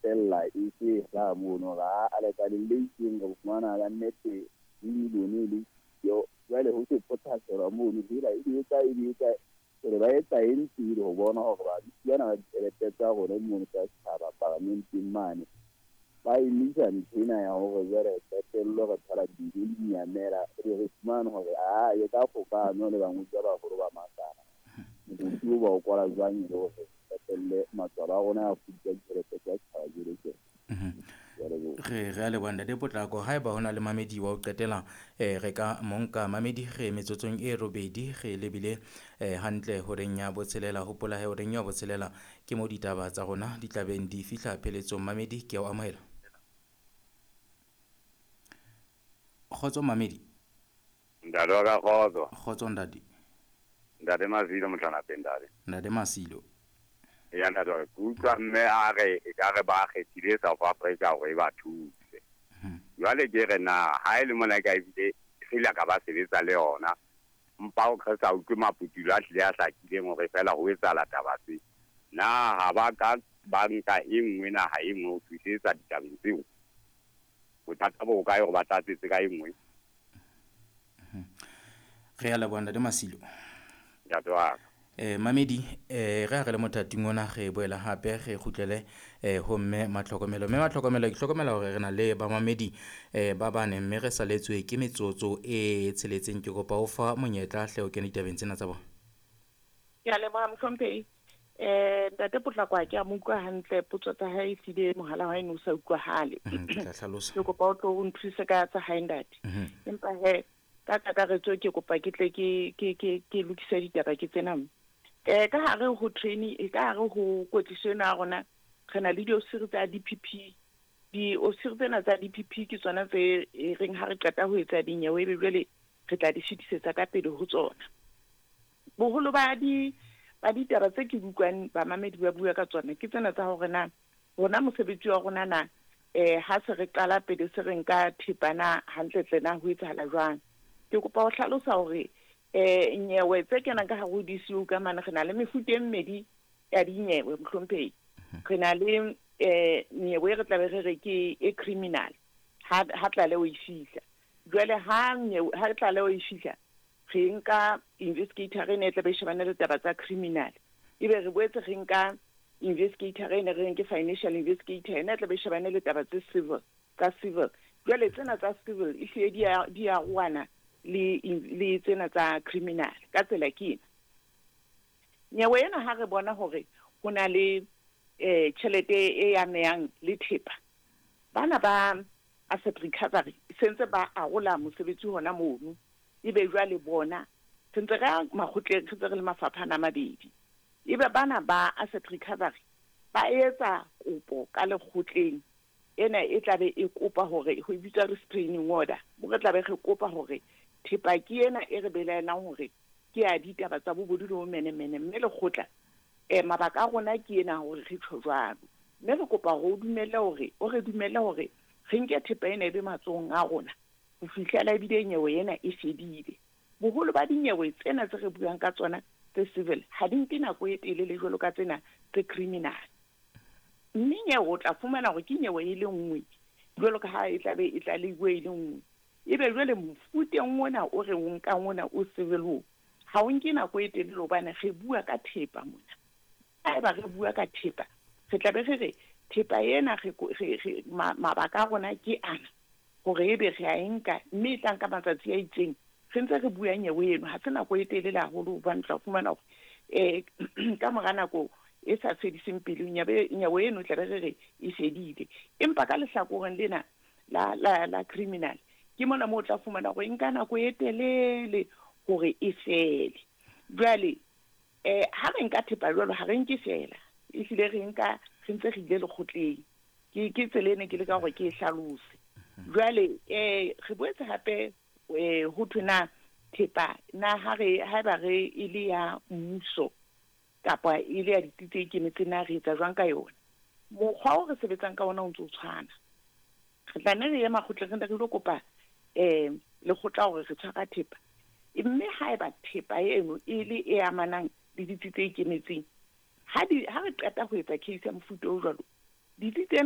qetella e se hlaha mono hore a lekaleng le itseng re fumana ka nnete dimilione le yo. Jwale ho se phothaselwa mono hela e di etsa e di etsa jwale ba etsa eng pele ho bona hore badutsi bana ba ditjhelete tsa rona mono tsa setjhaba paramenteng mane ba emisa ntho ena ya hore jwale re qetello re thola dijo di nyamela, ebe re fumane hore a e ka kgokano le bangodi ba baholo ba makala mokoti o ba o kwala jwang e le hore qetelle matswalo a rona a fudisa ditjhelete tsa setjhaba jwale tje. Re a leboha Ntate Potlako. Haeba ho na le mamedi wa ho qetela, re ka mo nka. Mamedi re metsotsong e robedi re lebile hantle horeng ya botshelela. Hopola he horeng ya botshelela ke mo ditaba tsa rona di tlabeng di fihla pheletsong. Mamedi ke a o amohela. Kgotso mamedi. Ntate wa ka kgotso. Kgotso ntate. Ntate Masilo Mohlanapeng ntate. Ntate Masilo. Ya ntate wa ka, ke utlwa mme a re e ka re ba kgethile South Africa hore e ba thuse. Jwale ke re na ha e le mona ka ebile re ile ka ba sebetsa le yona, mpa o re sa utlwe maputulo a hlile a hlakileng hore feela ho etsahala taba tse. Na ha ba ka ba nka e nngwe naha e nngwe ho thusetsa ditabeng tseo? Bothata bo kae hore ba tlatsetse ka e nngwe? Re a leboha Ntate Masilo. Ntate wa ka. Mamedi, re ha re le mothating ona re boela hape re kgutlele ho mme Matlhokomelo. Mme Matlhokomelo, ke hlokomela hore re na le bamamedi ba bane mme re saletswe ke metsotso e tsheletseng. Ke kopa o fa monyetla hle o kene ditabeng tsena tsa bona. Ke a leboha mohlomphehi. Ntate Potlako ha ke a mo utlwa hantle, potso tsa hae ehlile mohala wa hae ne o sa utlwahale. Ke tla hlalosa. Ke kopa o tlo o nthuse ka tsa hae ntate. Empa he ka kakaretso ke kopa ke tle ke lokise ditaba ke tsena. Ka hare ho training, ka hare ho kwetliso ena ya rona re na le diofisiri tsa DPP. Diofisiri tsena tsa DPP ke tsona tse e reng ha re qeta ho etsa dinyewe ebe jwale re tla di fetisetsa ka pele ho tsona. Boholo ba di ba ditaba tse ke utlwang bamamedi ba bua ka tsona ke tsena tsa hore na rona mosebetsi wa rona na ha se re qala pele se re nka thepa na hantlentle na ho etsahala jwang. Ke kopa ho hlalosa hore nyewe tse kenang ka hare ho DCU ka mane re na le mefuta e mmedi ya dinyewe mohlomphehi. Re na le nyewe e re tlabe re re ke e criminal ha tlaleho e fihla. Jwale ha nyewe ha tlaleho e fihla re nka investigator ene e tlabe e shebane le taba tsa criminal, ebe re boetse re nka investigator ene re reng ke financial investigator ene e tlabe e shebane le taba tse civil, tsa civil. Jwale tsena tsa civil ehlile di a roana le tsena tsa criminal ka tsela ke ena. Nyewe ena ha re bona hore ho na le tjhelete e amehang le thepa, bana ba asset recovery sentse ba arola mosebetsi hona mono, ebe jwale bona re ntse re ya makgotleng, re ntse re le mafapha ana a mabedi. Ebe bana ba asset recovery ba etsa kopo ka lekgotleng ena e tlabe e kopa hore ho bitswa restraining order, mo re tlabe re kopa hore thepa ke ena e re belaelang hore ke ya ditaba tsa bobodu le bomenemene, mme lekgotla mabaka a rona ke ena hore re tjho jwalo, mme re kopa hore o dumelle hore o re dumelle hore re nke thepa ena e be matsohong a rona ho fihlela ebile nyewe ena e fedile. Boholo ba dinyewe tsena tse re buang ka tsona tse civil ha di nke nako e telele jwalo ka tsena tse criminal. Mme nyewe o tla fumana hore ke nyewe e le nngwe jwalo ka ha e tlabe e tlalehilwe e le nngwe. Ebe jwale mofuteng ona o re o nkang ona o civil o ha o nke nako e telele hobane re bua ka thepa mona. Haeba re bua ka thepa, re tlabe re re thepa ena re mabaka a rona ke ana hore ebe re a e nka, mme e tla nka matsatsi a itseng re ntse re bua nyewe eno. Ha se nako e telele haholo hobane tla fumana hore ka mora nako e sa fediseng pelo nyewe eno tlabe re re e fedile. Empa ka lehlakoreng lena la criminal ke mona moo o tla fumana hore e nka nako e telele hore e fele. Jwale ha re nka thepa jwalo ha re nke fela, ehlile re nka re ntse re ile lekgotleng. Ke tsela ene ke leka hore ke e hlalose. Jwale re boetse hape ho thwe na thepa na ha re haeba re e le ya mmuso kapa e le ya ditsi tse ikemetseng na re etsa jwang ka yona. Mokgwa o re sebetsang ka ona o ntse o tshwana. Re tla nne re ye makgotleng re nne re ilo kopa lekgotla hore re tshwara thepa, mme haeba thepa eno e le e amanang le ditsi tse ikemetseng, ha re qeta ho etsa case ya mofuta o jwalo, ditsi tsena